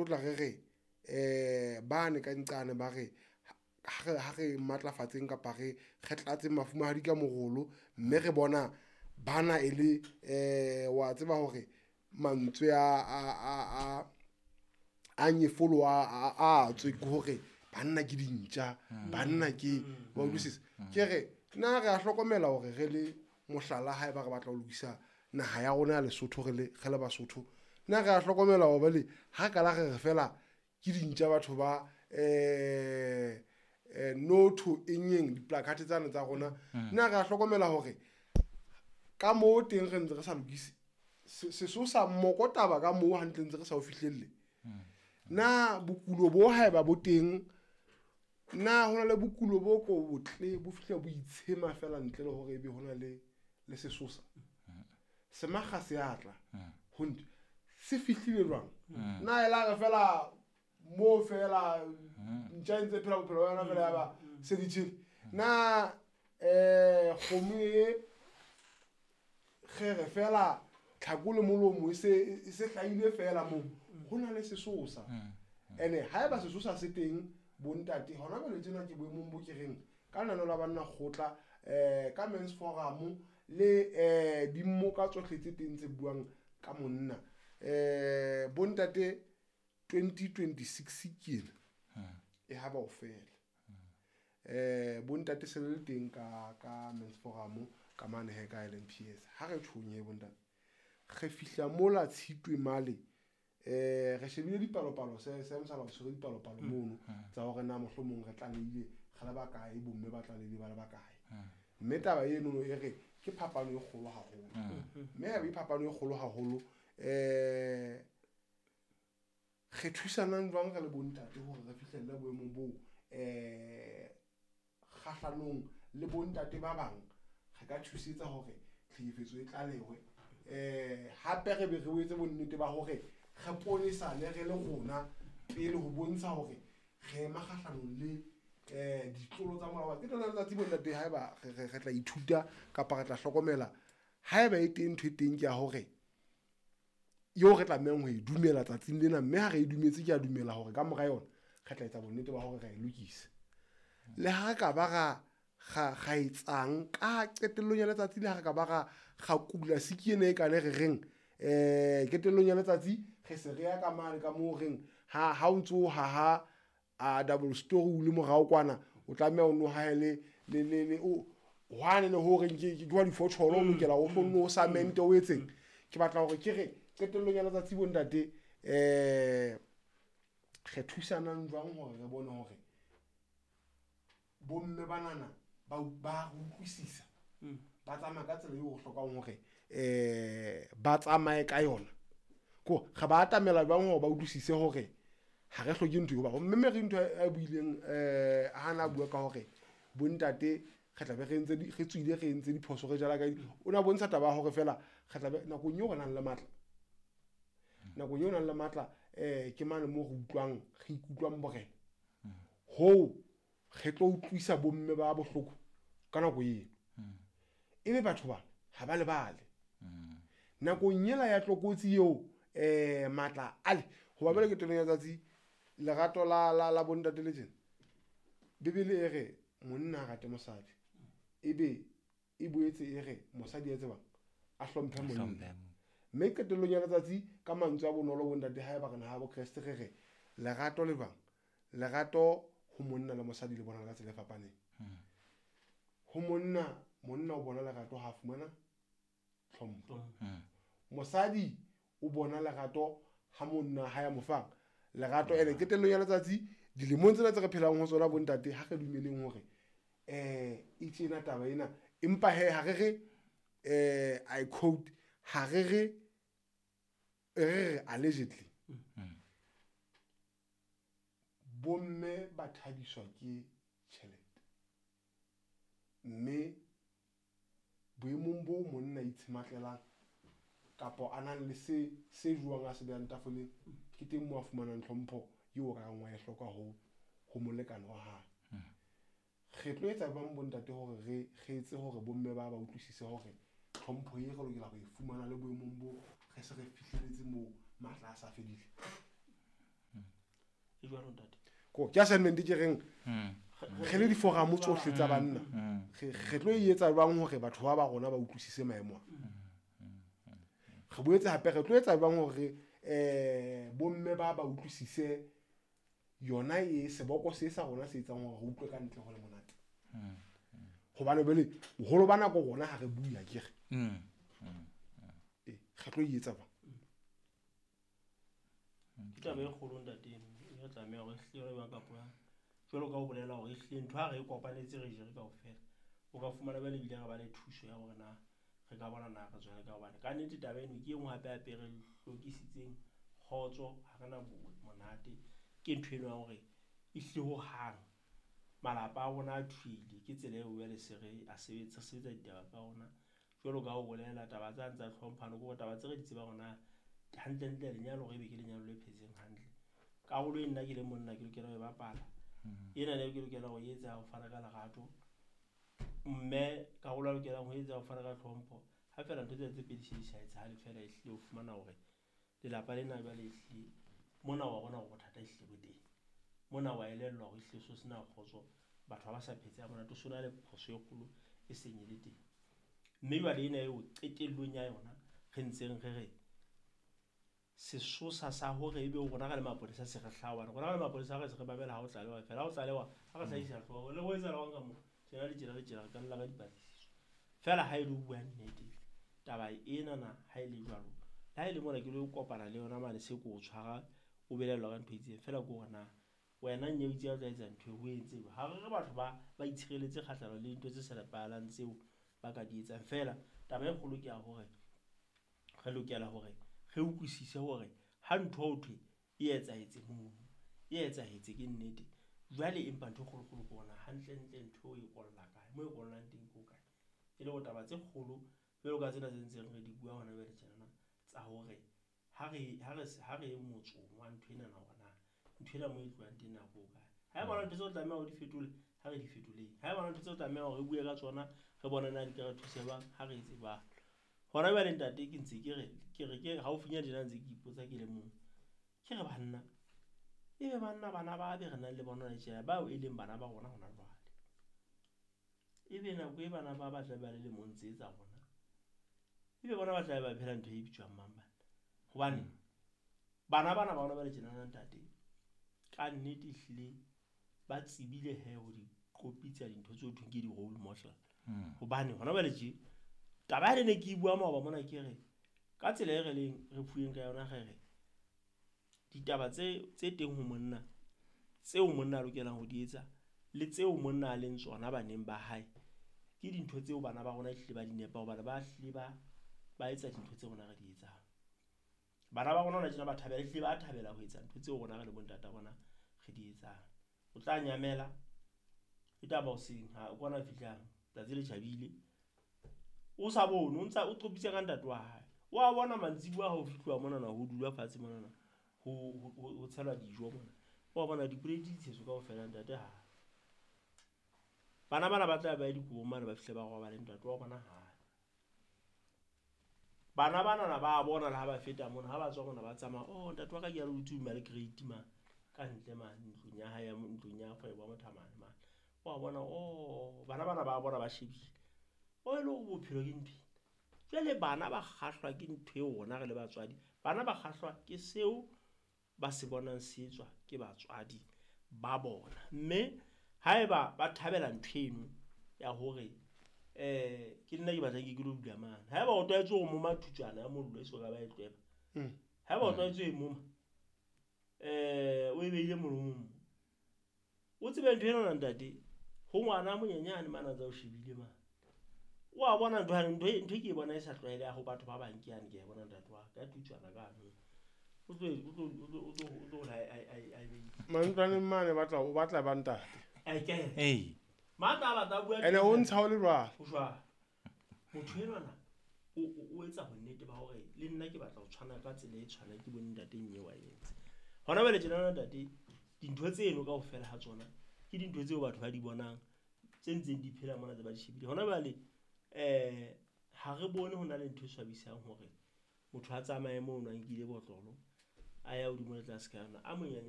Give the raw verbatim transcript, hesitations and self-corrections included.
tlo tla re re um bane ka nqane ba re ha re ha re matlafatseng kapa re re tlatseng mafumahadi ka morolo, mme re bona bana e le um wa tseba hore mantswe a a a a a nyefolo a a a tswe ke hore banna ke dintja, banna ke wa utlwisisa. Ke re na re a hlokomela hore re le mohlala ha eba re batla ho lokisa naha ya rona ya Lesotho re le re le Basotho, na re a hlokomela hore bale ha re kala re re fela ke dintja batho ba eh eh no to enyeng diplakate tsane tsa rona, na re a hlokomela hore ka moo teng re ntse re sa lokise sesosa mokotaba ka moo hantle ntse re sa o fihlelle. Na bokulo bo haeba bo teng, na hona le bokulo bo ko botle bo fihla bo itshema fela ntle le hore ebe hona le le sesosa? Semakga se atla ho ntho se fihlile jwang? Na e la re fela mo fela ntja e ntse phela bophelo ba yona fela ya ba se di tjhele? Na eh kgomo e kgere fela tlhako le molomo e se e se hlahile fela moo, ho na le sesosa. Ene haeba sesosa se teng bontate hona jwale tjena ke boemong bo ke reng ka lenaneo la banna kgotla eh ka Men's Forum le eh dimmoka tsohle tse teng tse buang ka monna eh bontate twenty twenty-six ke ena e ha ba o fela. Eh bontate se le teng ka ka Men's Forum ka mane he ka L M P S ha re tshonye bontate re fihla mola Tshitwe male eh re shebile dipalopalo se se msala o tshwere dipalopalo mono tsa hore na mohlomong re tlalehile re le ba kae, bomme ba tlalehile ba le ba kae. Mme taba eno e re ke phapano e kgolo haholo, mme ha e phapano e kgolo haholo eh re thusanang jwang re le bontate hore re fihlelle boemong boo eh kgahlanong le bontate ba bang re ka thusetsa hore tlhekefetso e tlalehwe eh hape re be re etse bonnete ba hore re ponesane re le rona pele ho bontsha hore re ema kgahlanong le eh ditlolo tsa molao. Ke lona letsatsi bontate haeba re re tla ithuta kapa re tla hlokomela haeba e teng ntho e teng ke ya hore eo re tlamehang ho e dumela tsatsing lena, mme ha re e dumetse ke a dumela hore ka mora yona re tla etsa bonnete ba hore re e lokise. Le ha re ka ba ra ga ga etsang ka qetellong ya letsatsi, le ha re ka ba ra ga kula siki ena e kane re reng eh qetellong ya letsatsi re se re ya ka mane ka moo reng ha ha o ntso ha ha a double story o le morao kwana o tlameha o no haele le le le o hwane le hore ke ke wa difotholo o lokela o hlonno o cement o etseng. Ke batla hore ke re qetellong ya letsatsi bontate eh re thusanang jwang hore re bone hore bomme banana ba ba utlwisisa ba tsamaya ka tsela eo o hlokang hore eh ba tsamaye ka yona, ko re ba atamela jwang hore ba utlwisise hore ha re hloke ntho eo. Ba mme re ntho a buileng eh ha na bua ka hore bontate re tla be re entse re tswile re entse diphoso re jala ka o na bontsha taba ya hore fela re tla be nakong eo re nang le matla, nakong eo nang le matla eh ke mane mo re utlwang re ikutlwang borena ho re tlo utlwisa bomme ba bohloko ka nako eno. Ebe batho ba ha ba lebale nakong ela ya tlokotsi eo eh matla ale hoba bele ke teng ya tsatsi lerato la la la bontate le tjena. Bibele e re monna a rate mosadi, ebe e boetse e re mosadi a tsebang a hlomphe monna. Mme qetellong ya letsatsi ka mantswe a bonolo bontate haeba re naha bo Kreste re re lerato le bang lerato ho monna le mosadi le bona ka tsela e fapaneng. Ho monna, monna o bona lerato ha fumana tlhompho, mosadi o bona lerato ha monna ha ya mo fang lerato. Ene qetellong ya letsatsi dilemong tsena tse re phelang ho tsona bontate ha re dumeleng hore eh e tjena taba ena, empa he ha re re eh I quote ha re re re allegedly bomme ba thabiswa ke tjhelete, mme boemong bo monna itshematlelang kapa a nang le se se jwang a se behang tafoleng ke teng moo a fumanang tlhompho eo ka reng wa e hloka ho ho molekane wa hae. Re tlo etsa jwang bontate hore re re etse hore bomme ba ba utlwisise hore tlhompho e re lokela ho e fumana le boemong bo re se re fihlelletse moo matla a sa fedile? jwalo ntate. Ko ke assignment ke reng re le diforamo tsohle tsa banna re re tlo e etsa jwang hore batho ba ba rona ba utlwisise maemo a. Re boetse hape re tlo etsa jwang hore eh bomme ba ba utlwisise yona e seboko se sa rona se etsang hore re utlwe ka ntle ho le monate. Hobane bele boholo ba nako rona ha re bue akere. Eh re tlo e etsa jwang? Ke taba e kgolo ntate eno, e re tlameha hore ehlile re bang kapo jwalo ka ho bolela hore ehlile ntho ha re e kopanetse re jere kaofela. O ka fumana jwale ebile re ba le thuso ya hore na re ka bona na re tswela ka hobane ka nnete taba eno ke e nngwe hape hape re hlokisitseng kgotso, ha re na monate. Ke ntho eno ya hore ehlile hohang malapa a rona a thwele ke tsela eo jwale se re a sebetsa sebetsa ditaba tsa rona. Jwalo ka ho bolela taba tsa tsa tlhomphano ke hore taba tse re di tsebang hore na hantlentle lenyalo hore ebe ke lenyalo le phetseng hantle. Karolo e nna ke le monna ke lokela ho e bapala. Ena le ke lokela ho etsa ho fana ka lerato. Mme karolo a lokelang ho etsa ho fana ka tlhompho. Ha feela ntho tsena tse pedi se di sa etsahale feela ehlile o fumana hore lelapa lena jwale ehlile mona wa bona hore bothata ehlile bo teng. Mona wa elellwa hore ehlile so sena kgotso, batho ha ba sa phetse ha monate, so na le phoso e kgolo e seng e le teng. Mme jwale ena eo qetellong ya yona re ntseng re re sesosa sa hore ebe rona re le mapolesa se re hlaha hobane rona re le mapolesa re se re mamela ha o tlalewa feela, ha o tlalewa ha re hlahisa hlooho le ho etsahala hang ka moo tjena le tjena le tjena re ka lla ka dipatlisiso. Feela ha e le ho bua nnete taba enana ha e le jwalo, le ha e le mona ke lo kopana le yona mane se ko o tshwara o belellwa ka ntho e itseng feela ke hore na wena nnye o itse ha o tla etsa ntho e o entse jwang. Ha re re batho ba ba itshireletse kgahlano le dintho tse sa nepahalang tseo ba ka di etsang. Feela taba e kgolo ke ya hore re lokela hore re utlwisise hore ha ntho ho thwe e etsahetse mono, e etsahetse ke nnete. Jwale empa ntho e kgolokgolo ke hore hantlentle ntho e kolla kae, moo e kollang teng ke ho kae. E le hore taba tse kgolo jwalo ka tsena tse ntseng re di bua hona jwale tjenana tsa hore ha re ha re ha re motsong wa ntho enana hore na ntho ena moo e tlohang teng na ke ho kae. Ha eba ntho tseo tlameha hore di fetole, ha re di fetoleng. Ha eba ntho tseo tlameha hore re bue ka tsona, re bone na di ka re thusa jwang, ha re etse jwalo. Hona jwale ntate ke ntse ke re ke re ke haufinyane tjena ntse ke ipotsa ke le mong. Ke re banna, ebe banna bana ba be re nang le bona tjena bao e leng bana ba rona hona jwale. Ebe nako e bana ba ba tla ba le lemong tse tsa rona. Ebe bona ba tla ba phela ntho e bitswang mang bana. Hobane bana bana ba rona ba le tjena ntate ka nnete ehlile ba tsebile he ho di kopitsa dintho tseo thweng ke di-role model. Hobane hona jwale tje taba ya ne ke bua maoba mona ke re ka tsela e re leng re fuweng ka yona re re ditaba tse tse teng ho monna tseo monna a lokelang ho di etsa le tseo monna a leng tsona baneng ba hae ke dintho tseo bana ba rona ehlile ba di nepa hobane ba hlile ba ba etsa dintho tse rona re di etsang. Bana ba rona hona tjena ba thabela ehlile ba thabela ho etsa ntho tseo rona re le bontata bona re di etsang. O tla nyamela e taba hoseng ha o kwana fihlang tsatsi le tjhabile o sa bone o ntsa o qopitse ka ntate wa hae. Wa bona mantsibuya ha o fihluwa monana ho dula fatshe monana ho ho tshelwa dijo mona. Wa bona diplate di tshetswe kaofela ntate ha. Bana bana ba tla ba dikobong mane ba fihle ba robale ntate wa bona hae. Bana bana ba bona le ha ba feta mona ha ba tswa mona ba tsamaya oh ntate wa ka ke ya le utswa le crate ma ka ntle mane ntlong ya hae ya ntlong ya kgwebo ya mothamane mane. Wa bona oh bana bana ba bona ba shebile. O e le hore bophelo ke ntho ena. Jwale bana ba kgahlwa ke ntho eo rona re le batswadi. Bana ba kgahlwa ke seo ba se bonang se etswa ke batswadi ba bona. Mme haeba ba thabela ntho eno ya hore eh ke nna ke batlang ke lo dula mane. Haeba o tlwaetse ho moma thutswana ya mollo e so ka ba e tlweba. Haeba o tlwaetse ho e moma eh o e behile molomong. O tsebe ntho ena ntate ho ngwana monyenyane mane a ntsa o shebile mane. Wa bona ntho ntho ntho ke bona e sa tlwaeleha ho batho ba bang ke yane ke a bona ntate wa ka tutswana ka no. O tlo o tlo o tlo o tlo ai ai ai mantlwaneng mane batla o batla ba ntate. Ai ke. Ee. Matla batla bua. Ene o ntsha o le jwalo. Ho jwalo. Motho enwana o o etsa bonnete ba hore le nna ke batla ho tshwana ka tsela e tshwanang ke bone ntate nnye wa entse. Hona jwale tjena ntate dintho tseno kaofela ha tsona ke dintho tseo batho ba di bonang tse ntseng di phela mona tse ba di shebile. Hona jwale eh ha re bone hona le ntho e swabisang hore motho a tsamaye mono a nkile botlolo a ya hodimo le tlase ka yona a monyane.